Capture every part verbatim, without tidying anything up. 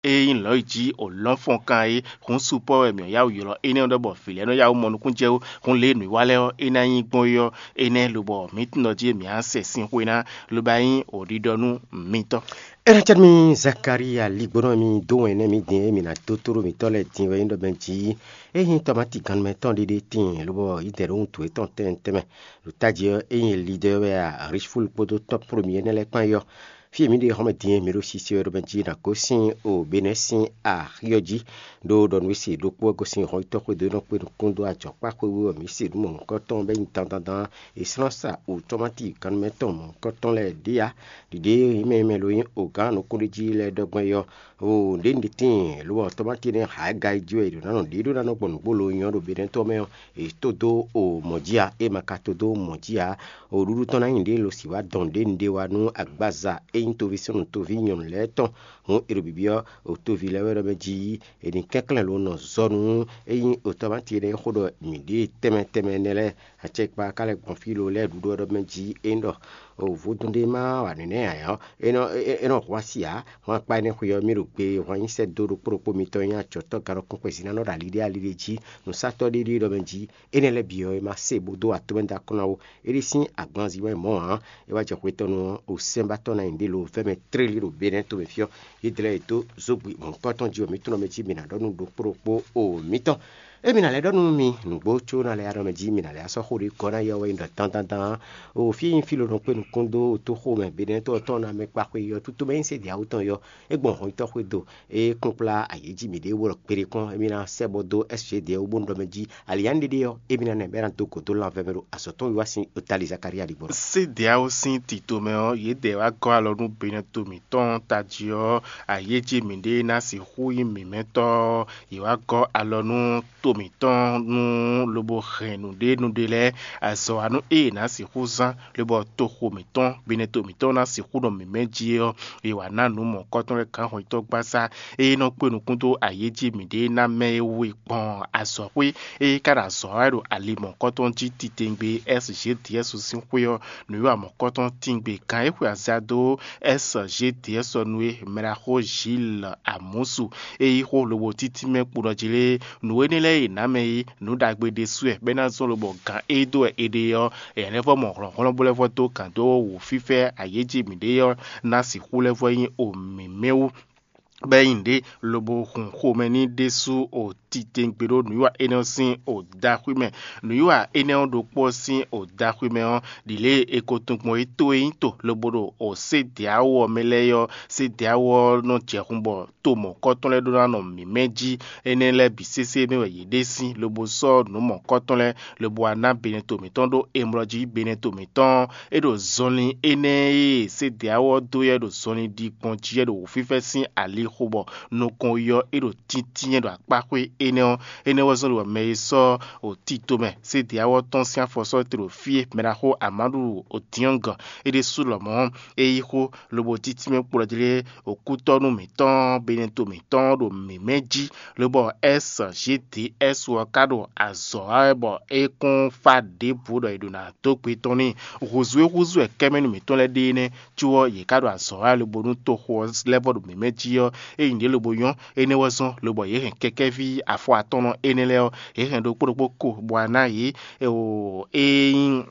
E nyí lɔ̌ yi jí o lɔ́nfɔnkan é, hǔn supɔ́ wɛ mǐ yáwǔ ylɔ́ énɛ́ ɔ́ ɖɔ bɔ vǐ lɛ́ɛ nɔ yáwǔ mɔ nukúnnú jɛ wú, hǔn lě e nǔwiwa lɛ́ɛ ɔ́, é ná nyí gbɔn é ɔ́, énɛ́ lobɔ mǐ tunwun ɖɔ jí mǐ á sɛ sín xwe ná, lobo ná nyí o ɖiɖɔ nú mitɔn. É ná cɛ́ nú mì Zakalía ligbónɔ e mi dó wɛn nɛ́ mǐ din e mǐ ná dó tló mǐtɔn lɛ́ɛ din wɛ nyí ɖɔ mɛ jí é nyí tɔmáti gannumɛ tɔn ɖé ɖé tíin, lobɔ yě dɛ ɖó wuntun yětɔn tɛnmɛ tɛnmɛ. Ɖo tají ɔ́, é nyí Lidɔ́ wɛ a, Rísfúlu kpódó tɔ́ Polomiyɛ́ nɛ́ lɛ́ɛ kpán é ɔ́, fí e mǐ ɖe xɔ́mɛ din e mǐ ɖo sise wɛ ɖɔ mɛ jí ná gosín o Benɛ́ sín axi ɔ́ jí, ɖó ɖɔ nǔ e se ɖokpó wɛ gosín hɔn yítɔ́ xwedó e nɔ kpé nukún dó ajɔ̌kpáxwé wú ɔ́, mǐ se nǔ mɔ̌hunkɔtɔn bɔ é nyí dandan dán. È slɔ́n sa o tɔ́máti gannumɛtɔn mɔ̌hunkɔtɔn lɛ́ɛ ɖě ǎ. Ɖiɖě e mɛ e mɛ lo nyí ogǎn nukúnɖéjí lɛ́ɛ ɖɔ gbɔn é ɔ́, o ɖěniɖe tíin, lo ɔ́, tɔ́máti énɛ́ hǎ ga yi jí wɛ è ɖǒ ná nɔ ɖě ɖó ná nɔ gbɔn nǔgbó lo nyɔ́ ɖo Benɛ́ tɔn mɛ ɔ́, è tó dó o mɔ̌ jí ǎ. É ma ka tó dó mɔ̌ jí ǎ, o ɖuɖu tɔn ná nyí ɖě lo sǐ wá dɔn ɖěniɖe wá nú agbaza e nyí toví súnnu toví nyɔ̌nu lɛ́ɛ tɔn. Hǔn è ɖo byɔ́byɔ́ o toví lɛ́ɛ wɛ ɖɔ mɛ jí è nǐ kɛnklɛ́n lo nɔ zɔ nú é nyí o tɔ́máti énɛ́ e xó ɖɔ mǐ ɖe tɛnmɛ tɛnmɛ énɛ́ lɛ́ɛ. Acɛkpa ka lɛ́ gbɔn fí lo lɛ́ɛ ɖuɖu ɔ́ ɖɔ mɛ jí é nyí ɖɔ o vodún ɖé ma wa nǔnywɛ́ ǎ ɔ́, é nɔ é nɔ hu asi ǎ. Hwan akpá énɛ́ xwe ɔ́, mì ɖo gbe e hwan nyi sɛ́ dó ɖokpó ɖokpó mitɔn e nyí acɔ̌tɔ́ ganɔkun xwezínánɔ ɖo ali ɖé ali ɖé jí, nǔsatɔ́ ɖé ɖé ɖɔ mɛ jí, énɛ́ lɛ́ɛ bǐ ɔ́, é ma se bó dó atɔ́ mɛ dó akɔ́ ná ó. É ɖi sín agbanzin wɛ mɔ̌ ǎ. É wá jɛ hwetɔ́nu ɔ́, o sɛ́nbátɔ́ ná nyi ɖě lo vɛ́ mɛ tlélí ɖo Benɛ́ tomɛ fí ɔ́, yě dlɛ́ yě dó zógbi mɔ̌hunkɔtɔn jí wɛ mǐ tunwun mɛ jí mǐ ná ɖɔ nú ɖokpó ɖokpó o mǐtɔn. Émí ná lɛ́ ɖɔ nú mi nǔgbó có ná lɛ́ ɖɔ mɛ jí mi ná lɛ́ sɔ́ xó ɖé gɔ́ ná yɛ wɛ nyí ɖɔ dandan. O fí e nyí fí ló nɔ kpé nukún dó toxo mɛ Benɛ́ tɔn ná mɛ kpa xwe yɔ tútú mɛ nyí sé ɖě awú tɔn yɔ. É gbɔn hɔn tɔ́ xwé do é kplɔ́nkplá ayǐ jí mǐɖée wó ɖɔ kpeɖé kpɔ́n émí ná sɛ́ bɔ dó S G D wú bónú ɖɔ mɛ jí alǐyá ɖéɖé ɔ́, émí ná nɛ bɔ é ná dó gǒ dó lanvɛ́ mɛ ɖo azɔ̌ tɔn wiwa sín o Tali Zakalía ɖigbɔ. Sé ɖě awú sín tito mɛ ɔ́, yě dɛ wá gɔ́ alɔ nú Benɛ́ to mǐtɔn tají ɔ́, ayǐ jí mǐɖée ná sixú nyí mǐmɛ́tɔ́ ɔ́, yě wá gɔ́ alɔ nú to mǐtɔn nú lobo hɛn nǔɖé nǔɖé lɛ́ɛ, azɔ̌wanú e è nǎ sixú zán, lobɔ toxo mǐtɔn, binɛto mǐtɔn ná sixú nɔ mǐmɛ́ jí é ɔ́, è wǎ ná nǔ mɔ̌hunkɔtɔn lɛ́ɛ gǎn hɔnyitɔ́ gbasá e nɔ kpé nukún dó ayǐ jí mǐɖée ná mɛ é wú gbɔn azɔ̌xwé e ka ɖo azɔ̌ wa wɛ ɖo ali mɔ̌hunkɔtɔn jí titewungbe S G D S sín xwé ɔ́, nǔwiwa mɔ̌hunkɔtɔn tíngbé gǎn e xwe aza dó S G D S ɔ́ nu é, mɛɖaxó Gilles Amusu e yí xó lobo títí mɛ kpo ɖɔ jí lé, nǔ énɛ́ lɛ́ɛ e è nǎ mɛ é, nǔ ɖagbe ɖésú wɛ, bɔ é ná zɔ́n lobɔ gǎn e dó wɛ è ɖe ɔ́, è nǎ lɛ́ vɔ́ mɔ hlɔ̌nhlɔ́n bó lɛ́ vɔ́ dó gǎn dó wǔ fífɛ́ ayéjí mǐɖée ɔ́ ná sixú lɛ́ vɔ́ nyí o mǐmɛ́ wú. Bɔ é nyí nǔɖé lobo hun xomɛ n'i ɖésú o titewungbe ɖó nǔwiwa énɛ́ ɔ́ sín o daxwí mɛ. Nǔwiwa énɛ́ ɔ́ ɖokpó ɔ́ sín o daxwí mɛ ɔ́, ɖi lě e è ko tunwun gbɔn é tó e nyí to lobo ɖo o sédeawo ɔ́ mɛ lɛ́ɛ é ɔ́, sédeawo ɔ́ nɔ jɛ hun bɔ to mɔ̌kɔtɔn lɛ́ɛ ɖó ná nɔ mǐmɛ́ jí. Énɛ́ lɛ́ɛ bǐ sésé mɛ wɛ yě ɖe sín, lobo sɔ́ nǔ mɔ̌kɔtɔn lɛ́ɛ, lobo wá ná benɛto mǐtɔn ɖó emlɔ jí. Benɛto mǐtɔn ɔ́, é ɖo zɔnlin énɛ́ e sédeawo ɔ́ dó yɛ ɖo zɔnlin ɖi gbɔn jí yɛ ɖo wǔfífɛ́ sín ali xo bɔ nukɔn yi ɔ́, é ɖo tíntínyɛ́ ɖo akpá xwé énɛ́ ɔ́. Énɛ́ wɛ zɔ́n ɖɔ mɛ e sɔ́ o tito mɛ sédeawo ɔ́ tɔn sín afɔ sɔ́ te ɖo fí e mɛɖaxó Amadu Odiɔ́ngɔn é ɖésú lɔmɔ̌ é yí xó lobo títí mɛ kplɔ́ jí lé, okútɔ́nú mǐtɔn, benɛto mǐtɔn ɖo mǐmɛ́ jí, lobɔ S G D S ɔ́ ka ɖo azɔ̌ wa wɛ bɔ é kún fá ɖěbǔ ɖɔ è ɖǒ ná dó gbe tɔn n'i. Hǔzú e húzú wɛ kɛ́mɛnú mǐtɔn lɛ́ɛ ɖe énɛ́, có ɔ́, yě ka ɖo azɔ̌ wa wɛ lobo nú toxo ɔ́ lɛ́ vɔ ɖo mǐmɛ́ jí ɔ́, é nyí ɖě lobo nyɔ́. Énɛ́ wɛ zɔ́n lobɔ yě hɛn kɛkɛ́ví afɔ atɔ́nɔ énɛ́ lɛ́ɛ ɔ́, yě hɛn ɖokpó ɖokpó ko bɔ wá ná yě, é nyí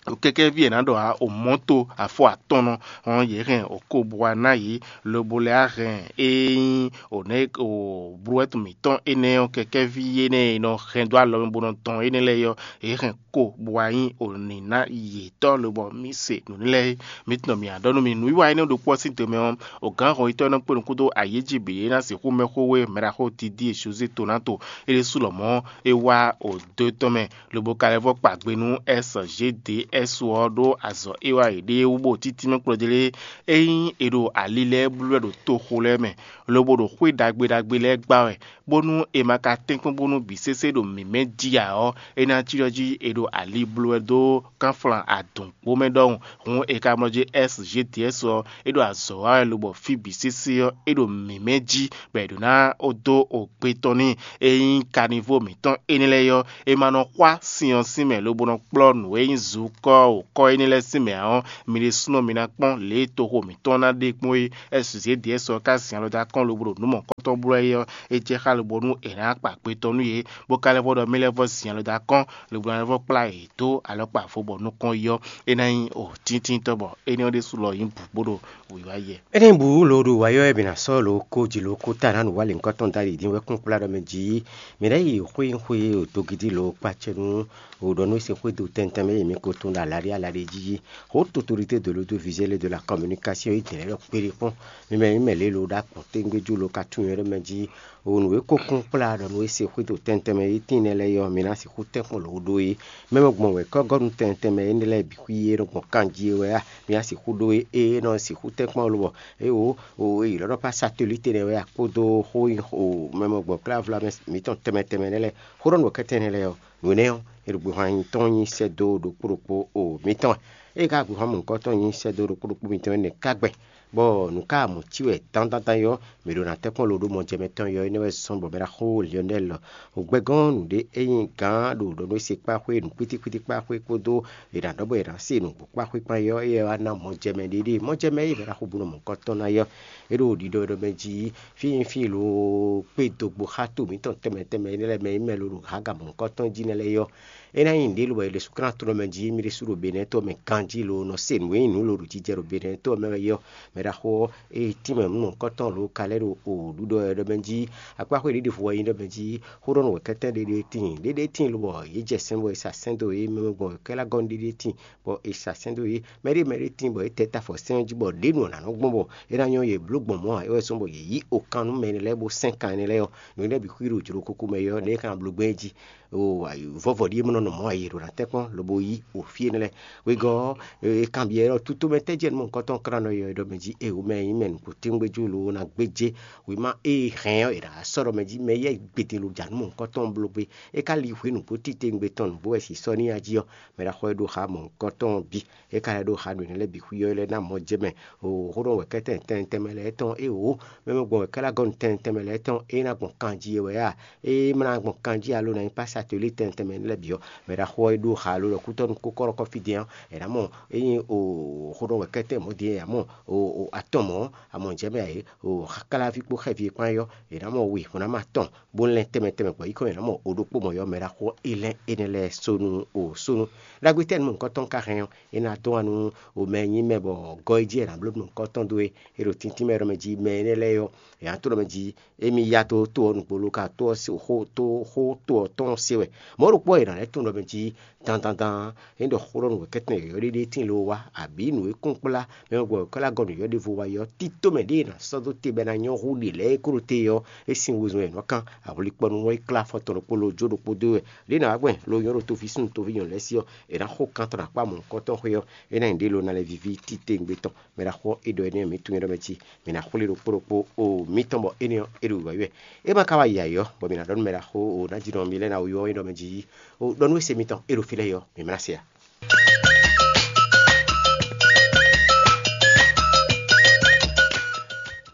kɛkɛ́ví e è nǎ ɖɔ ǎ, o mɔ̌to afɔ atɔ́nɔ, hɔn yě hɛn o ko bɔ wá ná yě, lobo lɛ́ wá hɛn e nyí o nɛ́ o blúwɛ́tu mǐtɔn énɛ́ ɔ́, kɛkɛ́ví énɛ́ e è nɔ hɛn dó alɔ mɛ bó nɔ dɔn énɛ́ lɛ́ɛ ɔ́, yě hɛn ko bɔ wá nyí o nǐná yětɔn, lobɔ mǐ se nǔ lɛ́ɛ é. Mǐ tunɔ mǐ á ɖɔ nú mi nǔwiwa énɛ́ ɖokpó ɔ́ sín te mɛ ɔ́, o gǎn hɔnyitɔ́ e nɔ kpé nukún dó ayǐ jí bǐ é ná sixú mɛ xó wé mɛɖaxó Didie Jozé Tonato, é ɖésú lɔmɔ̌ é wá o dó tɔn mɛ, lobo ka lɛ́ vɔ́ kpa gbe nú S G D S ɔ́ ɖó azɔ̌ e wa yě ɖe é wú bó títí mɛ kplɔ́ jí lé. Ényí è ɖo ali lɛ́ɛ blú wɛ ɖo toxo lɛ́ɛ mɛ, lobo ɖo xwé ɖagbe ɖagbe lɛ́ɛ gbá wɛ, bónú è ma ka tɛ́nkpɔ́n bónú bǐ sésé ɖo mǐmɛ́ jí ǎ ɔ́, é ná cí ɖɔ jí è ɖo ali blú wɛ dó kánflán adǔnkpo mɛ ɖɔhun. Hǔn è ka mlɔ́ jí S G D S ɔ́, é ɖo azɔ̌ wa wɛ lobɔ fí bǐ sésé ɔ́, é ɖo mǐmɛ́ jí, bɔ è ɖǒ ná dó o gbe tɔn n'i. Ényí kanivo mǐtɔn énɛ́ lɛ́ɛ ɔ́, è ma nɔ xwá sin ɔ́ sín mɛ lobo nɔ kplɔ́ nǔ e nyí zu kɔ o kɔ énɛ́ lɛ́ɛ sín mɛ ǎ ɔ́, mi ɖésúnɔ mi ná kpɔ́n lě e toxo mǐtɔn ná ɖe kpɔ́n é. Ɛ́ zědíɛ sɔ ká zin alɔ dó akɔ́n lobo ɖo nǔ mɔ̌kɔtɔn bló wɛ é ɔ́, é jɛ xá lobo nú è nǎ kpa gbe tɔn nú yě, bó ka lɛ́ vɔ ɖɔ mì lɛ́ vɔ zin alɔ dó akɔ́n lobo ná lɛ́ vɔ kplá yě dó alɔkpa vo bɔ nukɔn yi ɔ́, é ná nyí o tíntínntɔ́ bɔ énɛ́ ɔ́ ɖésú lɔ nyí bǔ bó ɖo wǐwá yɛ. Énɛ́ bǔ lo ɖo wǎ ɔ́, mǐ ná sɔ́ lo ko jí lo ko ta ná nǔ wa lěhunkɔtɔn dó ali dín wɛ kún kplá ɖɔ mɛ jí. Mǐ ná yi xwé xwé dogidi lo kpacɛ nú o ɖɔ nú é se xwé do tɛntɛn mɛ yi mǐ ko tún ɖo alaɖé alaɖé jí. Xó totorité de l'audiovisuel et de la communication yi dɛ̌ lɛ́ ɖɔ kpéɖé kpɔ́n. Mi mɛ mi mɛ lě lo ɖo akpɔ́n téŋgbéjú lo ka tunwun ɖɔ mɛ jí. O nǔ e ko kún kplá ɖɔ nú é se xwé do tɛntɛn mɛ yi tín nɛ́ lɛ́ɛ ɔ́, mǐ ná sixú tɛ́nkpɔ́n lǒ ɖó é. Mɛ mɛ gbɔn wɛ kɔ́gɔ́nú tɛntɛn mɛ énɛ́ lɛ́ɛ bǐ xwí é nɔ gbɔn kanjí é wɛ a? Mǐ ná sixú ɖó é, é nɔ sixú tɛ́nkpɔ́n lo bɔ é o o e yi lɔ́ nɔ kpá satelite nɛ́ wɛ a kpódó xó nyi o mɛ mɛ gbɔn klávla mɛ mǐtɔn tɛnmɛ tɛnmɛ nɛ́ lɛ́ɛ. Xó ɖɔ nǔ kɛ́tɛ́ nɛ́ lɛ́ɛ ɔ́, nǔ énɛ́ ɔ́, è ɖo gběhan nyi tɔn nyi sɛ́ dó ɖokpó ɖokpó o mǐtɔn wɛ. Ée ka gběhan mɔ̌hunkɔtɔn nyi sɛ́ dó ɖokpó ɖokpó mǐtɔn énɛ́ ka gbɛn, bɔ nǔ ka mɔ cí wɛ dandandan é ɔ́, mǐ ɖo ná tɛ́nkpɔ́n lo ɖó mɔjɛmɛ tɔn yɔ énɛ́ wɛ zɔ́n bɔ mɛ ɖaxó Lionel ò gbɛgɔ́n nǔɖé é nyí gǎn ɖo ɖɔ nú é se kpá xwé nǔ kpítíkpítí kpá xwé kpódó è nǎ ɖɔ bɔ è nǎ se nǔgbó kpá xwé kpán é ɔ́, é wá ná mɔjɛmɛ ɖéɖé. Mɔjɛmɛ e mɛ ɖaxó bú nɔ mɔ̌hunkɔtɔn ná é ɔ́, é ɖo ɖiɖɔ ɖɔ mɛ jí fí nyí fí lo kpé dogbo xá to mǐtɔn tɛnmɛ tɛnmɛ énɛ́ lɛ́ɛ mɛ e mɛ lo ɖo hǎga mɔ̌hunkɔtɔn jí nɛ́ lɛ́ɛ é ɔ́, é ná nyí nǔɖé lobɔ è ɖe súnklán to ɖɔ mɛ jí mì ɖésú ɖo Benɛ́ɛ to ɔ́ mɛ ganjí lo nɔ se nǔ e nyí nǔ lo ɖo jijɛ ɖo Benɛ́ɛ to ɔ́ mɛ wɛ é ɔ́, mɛ ɖaxó ɔ́, ée tínmɛ nǔ mɔ̌hunkɔtɔn lo ka lɛ́ ɖo o ɖuɖɔ wɛ ɖɔ mɛ jí akpáxwé ɖěɖěvo wɛ nyí ɖɔ mɛ jí xó ɖɔ nú wɛ̌kɛ́tɛ́ ɖéɖé tíin ɖéɖé tíin lobɔ yě jɛ sɛn bɔ è sa sɛn dó yě mɛ gbɔn wɛ̌kɛ́ lɛ́ɛ gɔ́ nú ɖéɖé tíin bɔ è sa sɛn dó yé. Mɛ ɖé mɛ ɖé tíin bɔ é tɛ ta afɔ sɛ́n ɔ́ jí bɔ ɖě nu ɔ́ nǎ nɔ gbɔn bɔ é ná nyɔ́ yě bló gbɔn mɔ̌ ǎ, é wɛ zɔ́n bɔ yě yí okan nú mɛ énɛ́ lɛ́ɛ bó sɛ́n kan énɛ́ lɛ́ɛ ɔ́, nǔ énɛ́ bǐ xwí ɖo jlǒ kúkú mɛ é ɔ́, nɛ̌ é ka ná bló gbɛn é jí? Oo, vɔ́vɔ ɖíe mɔ nɔ nɔ mɔ̌ ǎ, yě ɖo ná tɛ́nkpɔ́n lobo yí o fí énɛ́ lɛ́ɛ. Wegɔ́ ɔ́, è kanbyɔ́ ɛ ɖɔ tutomɛ tɛ́ jɛ nǔ mɔ̌hunkɔtɔn klán nɔ yɔ é ɖɔ mɛ jí, eo mɛ nyí mɛ nǔgbó téwúngbéjú lo ná gbéjé wěma e hɛn ɔ́, è nǎ sɔ́ ɖɔ mɛ jí mɛ yɛ gbede lo ja nǔ mɔ̌hunkɔtɔn bló gbé. É ka li hwě nǔgbó titewungbe tɔn nǔgbó wɛ sisɔ n'i a jí ɔ́, mɛ ɖaxó e ɖo xa mɔ̌hunkɔtɔn ɔ́ bǐ. É ka lɛ́ ɖó xa nǔ énɛ́ lɛ́ɛ bǐ xwí ɔ́, é lɛ́ ná mɔ jɛ mɛ. O xó ɖɔ wɛ kɛ́tɛn tɛntɛnmɛ lɛ́ɛ tɔn é wǒ, mɛ mɛ gbɔn wɛ kɛ́ lɛ́ gɔ́ nǔ tɛntɛnmɛ lɛ́ɛ tɔn é ná gbɔn kanjí é wɛ a? É ma ná gbɔn kanjí alo ná nyí pásá to lí tɛntɛnmɛ lɛ́ɛ bǐ ɔ́, mɛ ɖaxó ɔ́ é ɖó xa lo ɖɔ kútɔ́ nú kókɔ́ ɖɔkɔ́ fí din ɔ́, è nǎ mɔ é nyí o xó ɖɔ wɛ kɛ́tɛn mɔ̌ din é ǎ mɔ o atɔn mɔ̌, amɔ jɛ mɛ ǎ é o xakláví kpó xɛví e kpán é ɔ́, è nǎ mɔ wi hǔn ná ma tɔn bó lɛ́n tɛnmɛ tɛnmɛ gbɔ yi kɔn è nǎ mɔ o ɖokpó mɔ̌ ɔ́, mɛ ɖaxó é lɛ́n énɛ́ lɛ́ɛ sónú o sónú. Ɖagbe tɛ́ nú mɔ̌hunkɔtɔn ka hɛn ɔ́, é ná dɔn wá nú o mɛ e nyí mɛ bɔ gɔ́ é jí è nǎ bló nú mɔ̌hunkɔtɔn dó é, é ɖo tíntín mɛ ɖɔ mɛ jí mɛ énɛ́ lɛ́ɛ ɔ́, è nǎ tlɔ́ mɛ jí émí yá dó to ɔ́ nukpó ló ka to ɔ́ xó to xó to ɔ́ tɔn se wɛ. Mɔ̌ ɖokpó ɔ́, è nǎ lɛ́ tunwun ɖɔ mɛ jí dandan dan é ɖɔ xó ɖɔ nǔ wɛ kɛ́tɛn yɔ̌yɔ́ ɖé ɖé tíin ló wá, abǐ nǔ e kún kplá mɛ e gbɔ wěkwɛ́ lɛ́ɛ gɔ́ nǔ yɔ́ ɖěvo wá é ɔ́, tító mɛ ɖěe è nǎ sɔ́ dó te bɔ é ná nyɔ́ hú ɖě lɛ́ɛ é kó ɖo te ɔ́, é sín wezun wɛ è nɔ́ kán. Avɔlikpɔ́nú ɔ́ é klá afɔ tɔn ɖokpó ló jó ɖokpó dó wɛ. Ɖěe è nǎ wá gbɛn lo nyɔ́ ɖo toví súnnu toví nyɔ̌nu lɛ́ɛ sí ɔ́, è nǎ xo kan tɔn ɖo akpá mɔ̌hunkɔtɔn xwé ɔ́, é ná nyí ɖě lo ná lɛ́ víví títewungbe tɔn. Mɛ ɖaxó ɔ́, é ɖɔ énɛ́ mǐ tunwun é ɖɔ mɛ cí mǐ ná xwlé ɖokpó ɖokpó o mǐtɔn bɔ énɛ́ ɔ́, é ɖo wǐwá wɛ. É ma ka wá yi ayǐ ɔ́, bɔ mǐ ná ɖɔ nú mɛ ɖaxó o ná jí nɔ mǐ lɛ́ɛ ná wú ɔ́ é ɖɔ mɛ jí o ɖɔ nú ése mitɔn é ɖo fí lɛ́ɛ yi ɔ́, mǐ ma ná se ǎ.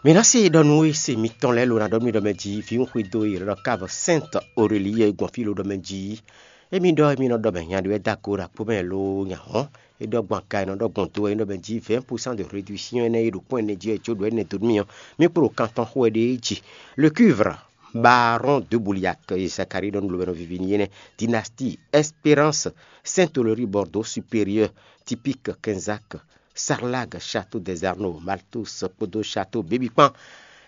Mǐ ná se ɖɔ nú ése mitɔn lɛ́ɛ lo ná ɖɔ nú mì ɖɔ mɛ jí vǐ un xwedó e è nɔ ɖɔ Cave Sainte Aurélie é gbɔn fí lo ɖɔ mɛ jí. Émí ɖɔ émí nɔ ɖɔ mɛ nya ɖé wɛ dó ago ɖo akpó mɛ lo nya hɔn. É ɖɔ gbɔn aga e nɔ ɖɔ gbɔn do wɛ é nɔ mɛ jí vingt pour cent de réduction énɛ́ e ɖo kpɔ́n ɛnɛ jí wɛ jó ɖo énɛ́ dó nú mì ɔ́, mì kpo ɖo kan tɔn xo wɛ ɖ'é jí. Le cuivre, baron de Bouliac e Zacharie ɖɔ nú lo wɛ nɔ vivi n'i énɛ́. Dynastie Espérance, Saint-Honoré, Bordeaux supérieur, typique Quinzac, Sarlag, Château des Arnaud, Malthus kpódó Château Bébikpan.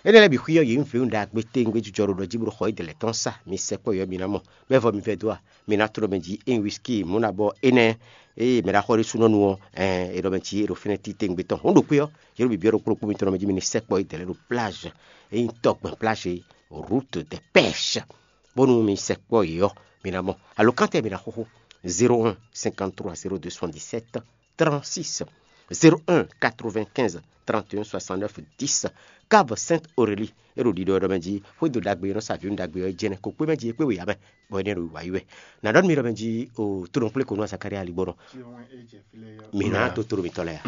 Énɛ́ lɛ́ɛ bǐ xwí ɔ́, yě nyí vǐwun ɖagbe tewungbe jijɔ ɖo ɖɔ jí bó ɖo xɔ édɛlɛ tɔn sa. Mi sɛkpɔ́ yɔ mi ná mɔ, mɛ vɔ mi vɛdó a? Mi ná tló mɛ jí ényí whisky mǔ ná bɔ énɛ́ eye mɛ ɖaxó ɖésúnɔ nu ɔ́, ɛn è ɖɔ mɛ jí è ɖo fínɛ́ títewungbe tɔn. Hǔn ɖokpó ɔ́, yě ɖo bǐbí ɔ́ ɖokpó ɖokpó mitɔn mɛ jí mi ní sɛkpɔ́ édɛlɛ ɖo plage, ényí tɔgbɛn plage, route de pêche, bónú mi sɛkpɔ́ yě ɔ́, mi ná mɔ. Alo kántɛ mi ná xóxó zéro un cinquante trois zéro deux soixante dix sept trente six, zéro un quatre vingt quinze trente et un soixante neuf dix. Cave Sainte Aurélie é ɖo ɖiɖɔ ɖɔ mɛ jí xwédo ɖagbe e nɔ sa vǐwun ɖagbe ɔ́ jɛnɛ kó kpé mɛ jí é kpé wěyá mɛ, bɔ énɛ́ ɖo wǎyi wɛ. Nǎ ɖɔ nú mi ɖɔ mɛ jí o tónɔ kplé ko nú Zakaria aligbɔnɔ. Mi ná dó tónɔ mitɔn lɛ́ɛ a?